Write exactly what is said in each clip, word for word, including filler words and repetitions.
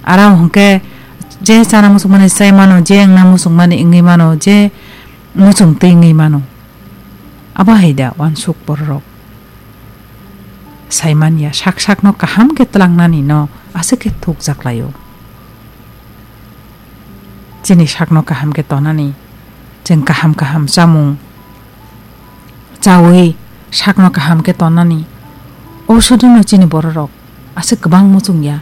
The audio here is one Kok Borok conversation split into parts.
Aro hwnkhe je chana muchungmani chai mano, je wngna muchungmani wngwi mano, je muchung twi wngwi mano. Abo hai da uansuk bororok sai manya, sak sakno kaham khe tlangnani no aswk khe thukjak laio. Chini sakno kaham khe tonani, chwng kaham kaham chamung chawi sakno kaham khe tonani, o sodono chini bororok aswk kwbang muchung ya.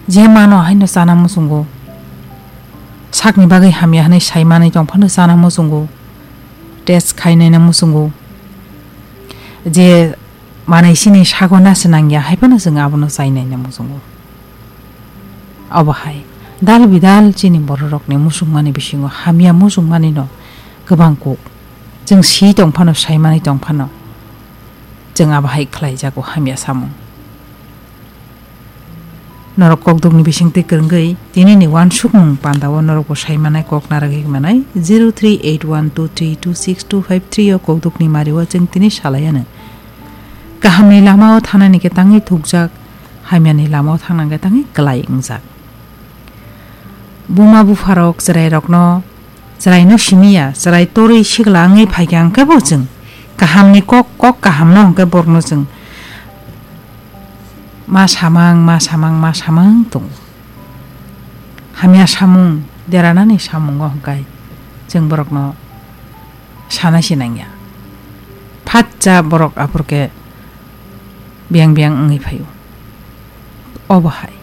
Je mano haino chana muchungo, sakni bagwi hamya hwnwi sai manwi tong phano chana muchungo, test khai naina muchungo. Je manwi chini sago na se nangya, hai phano chwng abono chai naina muchungo. Obo hai dal bidal chini bororokni muchungmani bisingo hamya muchungmanino kwbang kuk. Chwng si tong phano, sai manwi tong phano, chwng abo hai khlai jago hamya samung. Norok kokdukni bisingtwi kwrwngwi tinini uansukmung pandao norokbo sai manai, kok narwgwi manai zero three eight one two three two six two five three o kokdukni mario chwng tini salai anw. Kahamni lamao thangnani khe tangwi thukjak, hamyani lamao thangnani khe tangwi kwlai wngjak. Buma bupharok chwrairokno, chwraino simi ya, chwrai torwi sikla wngwi phaikha hwnkhe bo chwng kahamni kok, kok kahamno hwnkhe borokno chwng ma samang, ma samang, ma samang tongo. Hamya samung, deranani samungo hwnkhe chwng borokno sana se nangya. Phatsa borok aphurkhe biyang biyang wngwi phaio. Obo hai.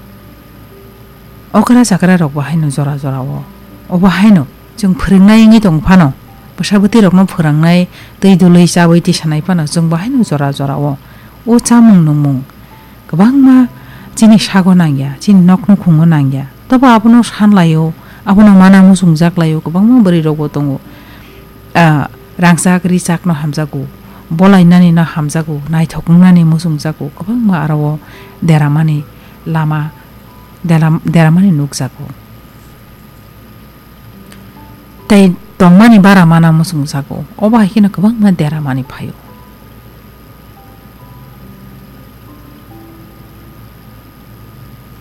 Okra chakra rok bo haino jora jora o. Obo haino chwng phwrwngnai wngwi tong phano, bwsa bwtwi rokno phwrwngnai, twi dului chawi tisanai phano chwng bo haino jora jora o. O chamung nungmung kwbangma chini sago nangya, chini nok nukhungo nangya. Tobo abono san laio, abono mana muchungjak laio, kwbangma bwrwi rokbo tongo. Ah, rangchak richakno hamjago, bolainanino hamjago, naithok wngnani muchungjago, kwbangma aro o deramani lama, deram-, deramani nukjago. Tei tongmani bara mana muchungjago, obo hai kheno kwbangma deramani phaio.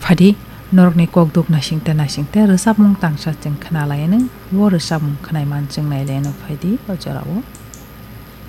Phadi, norokni kokduk naisingte naisingte rwchapmung tangsa chwng khna lai anw, o rwchapmung khnai man chwng nai lai anw, phaidi o jorao.